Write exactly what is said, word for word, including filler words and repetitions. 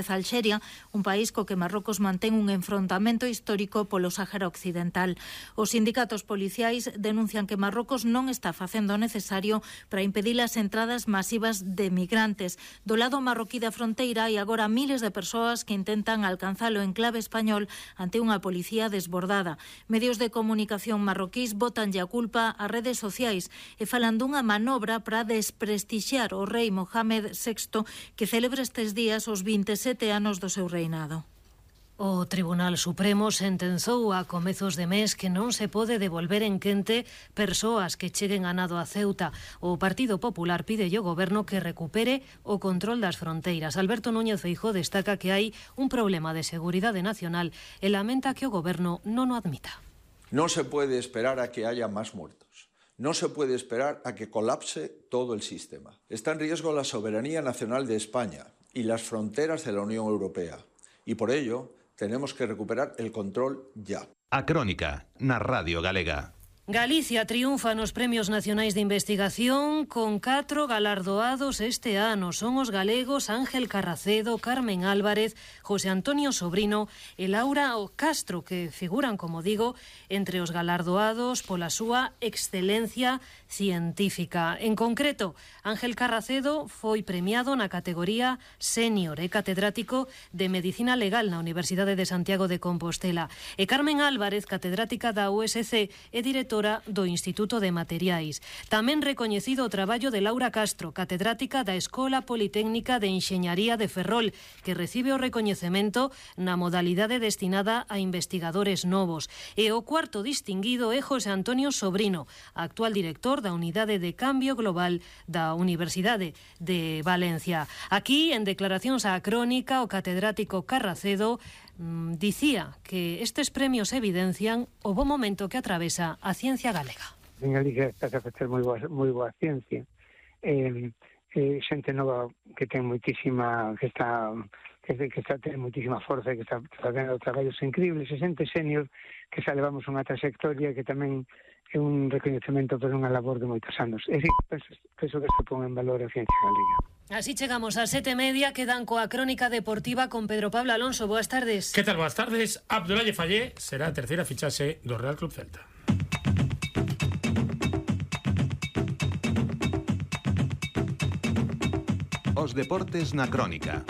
Alxeria, un país co que Marrocos mantén un enfrontamento histórico polo Sáhara Occidental. Os sindicatos policiais denuncian que Marrocos non está facendo o necesario para impedir as entradas masivas de migrantes. Do lado marroquí da fronteira hai agora miles de persoas que intentan alcanzar o enclave español ante unha policía desbordada. Medios de comunicación marroquís botanlle a culpa ás redes sociais e falan dunha manobra para desprestixiar o rei Mohamed sexto, que celebra estes días os veintesete anos do seu reinado. O Tribunal Supremo sentenzou a comezos de mes que non se pode devolver en quente persoas que cheguen a nado a Ceuta. O Partido Popular pide ao Goberno que recupere o control das fronteiras. Alberto Núñez Feijóo destaca que hai un problema de seguridade nacional e lamenta que o Goberno non o admita. Non se pode esperar a que haya máis muertos. No se puede esperar a que colapse todo el sistema. Está en riesgo la soberanía nacional de España y las fronteras de la Unión Europea. Y por ello tenemos que recuperar el control ya. A Crónica, na Radio Galega. Galicia triunfa nos Premios Nacionais de Investigación con catro galardoados este ano. Son os galegos Ángel Carracedo, Carmen Álvarez, José Antonio Sobrino e Laura Castro, que figuran, como digo, entre os galardoados pola súa excelencia científica. En concreto, Ángel Carracedo foi premiado na categoría senior e catedrático de Medicina Legal na Universidade de Santiago de Compostela. E Carmen Álvarez, catedrática da U S C e directora do Instituto de Materiais. Tamén recoñecido o traballo de Laura Castro, catedrática da Escola Politécnica de Enxeñaría de Ferrol, que recibe o recoñecemento na modalidade destinada a investigadores novos. E o cuarto distinguido é José Antonio Sobrino, actual director da Unidade de Cambio Global da Universidade de Valencia. Aquí, en declaracións á Crónica, o catedrático Carracedo mmm, dicía que estes premios evidencian o bo momento que atravesa a ciencia galega. En Galicia está a facer moi boa, moi boa ciencia. Eh, eh, xente nova que ten moitísima, que está que, que está ten moitísima forza e que está facendo traballos increíbles, e xente senior que xa levamos unha trayectoria que tamén é un recoñecemento por unha labor de moitos anos. É dicir, penso, penso que se pon en valor a ciencia galega. Así chegamos a sete e media, quedan coa Crónica Deportiva con Pedro Pablo Alonso. Boas tardes. Que tal? Boas tardes. Abdoulaye Fallé será a terceira fichaxe do Real Club Celta. Os deportes na Crónica.